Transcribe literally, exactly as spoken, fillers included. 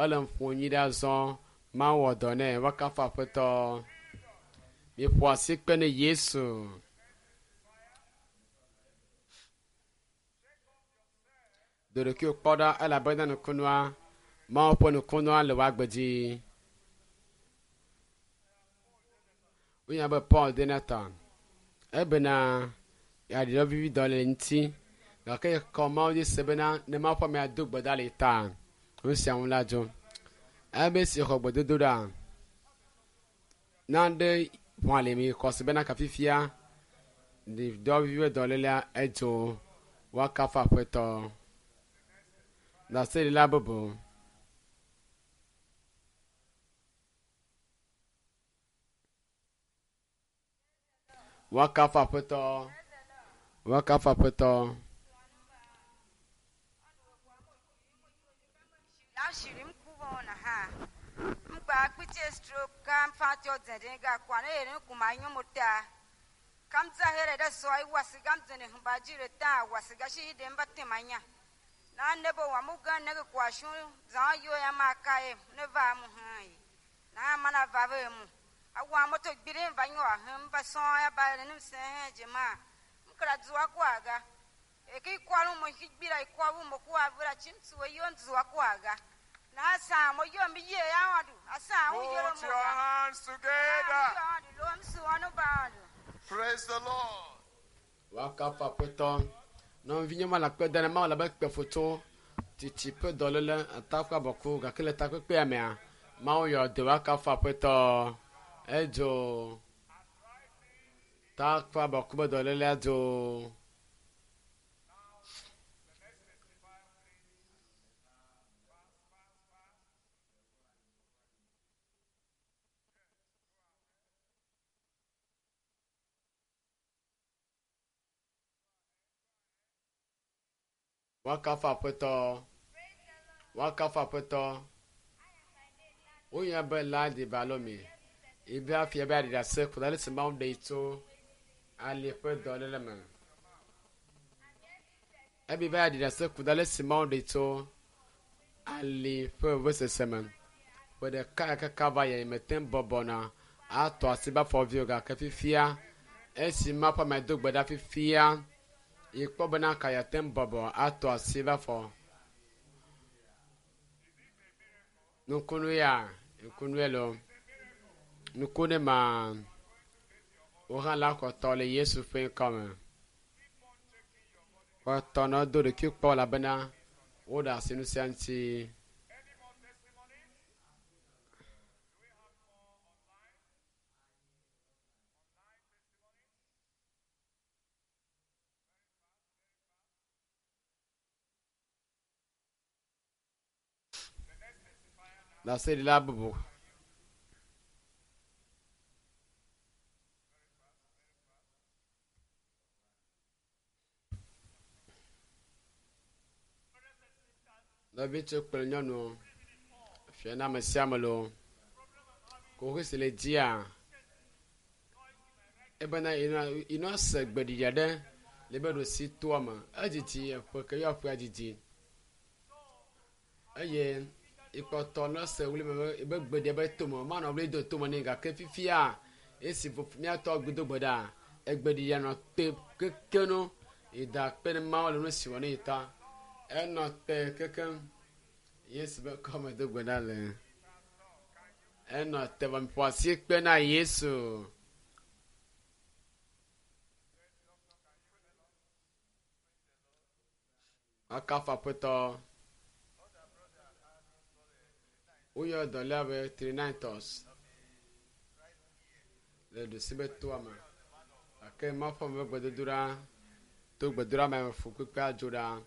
Ele ƒo nyi ɖe azɔ. Mawu wɔ dɔ nɛ. Woakafu Aƒetɔ. Miƒo asi kpe ne Yesu. Do ɖokuiwò kpɔ ɖa elabena nukunua, Mawu ƒe nukunua le wò agbe dzi. Wonya be Paul Denata ebena yeaɖi vivi dɔ le ŋuti gake kɔ Mawu dzi se bena ne Mawu ƒe amea do gbe ɖa le ta nu sia ŋu la dzo. Ebe si xɔ gbedodoɖa nane ʋɔ le mi xɔ se bena kafifia dɔ vivi dɔlélea edzo woakafu Aƒetɔ. Ɖaseɖila bubu. Woakafu Aƒetɔ. Woakafu Aƒetɔ. Ashirim kubona ha. Mgba kpiche stroke kam fatio zende ga kwane ere kuma nyomuta. Kam zahere da soy wasigam zene hmbajire ta wasigashi demba temanya. Na nebo wa muga ne kwa shu za yo ya makae ne va mu hai. Na mana va ve mu. Awa moto gbire va nyo ahum ba so ya ba ne se jema. Mkra zuwa kwaga. Eki kwalu mo higbira ikwabu mo kwa vura chimtsu yo nzuwa kwaga. Na sa mo yo mi ye ya wadu. Asa wo yo Put mo. your hands together. Lo msu wanu ba. Praise the Lord. Woakafu Aƒetɔ. Nɔvi nye ma le akpe da ne Mawu le abe kpefoto tsitsi ƒe dɔléle atakpɔ abɔku gake le takpekpea mea Mawu yɔ dɔ woakafu Aƒetɔ. Edzo takpɔ abɔku ƒe dɔlélea dzo. Woakafu Aƒetɔ. Woakafu Aƒetɔ. Wonya be Ladi Balomi. Ibe afia be aɖi ɖase ku ɖe ale si Mawu ɖee tso ali ƒe dɔléle me. Ebi be aɖi ɖase ku ɖe ale si Mawu ɖee tso ali ƒe vevesese me. Ƒe ɖeka kaka va yi mete ŋu bɔbɔna atɔ asi be afɔviwo gake fifia esi Mawu ƒe ame do gbe ɖa fifia yikpɔ bena ka yeate ŋu bɔbɔ atɔ asi be afɔ. Nukunu ya, nukunu ye lo. Nukunu ma wo hã la xɔtɔ le Yesu ƒe ŋkɔme. Xɔtɔ nɔ do ɖokui kpɔ elabena woɖe asi nu sia ŋuti. Ɖaseɖila bubu. Nɔvi tso kple nyɔnuwo fia na ame sia ame loo. Kuxi si le dzia ebena ino ase gbeɖiɖi aɖe le be ɖosi toa me. Edzidzi eƒe ke yɔ ƒea dzidzi eye ikpɔtɔ ne se wli me be gbeɖia be tome manɔ wli do tome nɛ gake fifia esi míatɔ gbedo gbe ɖa egbeɖiɖia nɔ te keke no ida kpe ne Mawu le nu si wɔ ne yi ta. Enɔ te kekem Yesu be kɔme do gbe ɖa le. Enɔ te vɔ ƒo asi kpe na Yesu. Akafu Aƒetɔ. Woyɔ dɔléa be Trinitors le ɖusi be toa me. Gake Mawu ƒe ame ƒe gbedodoɖa to gbedoɖa me fu kpekpe adzo ɖa.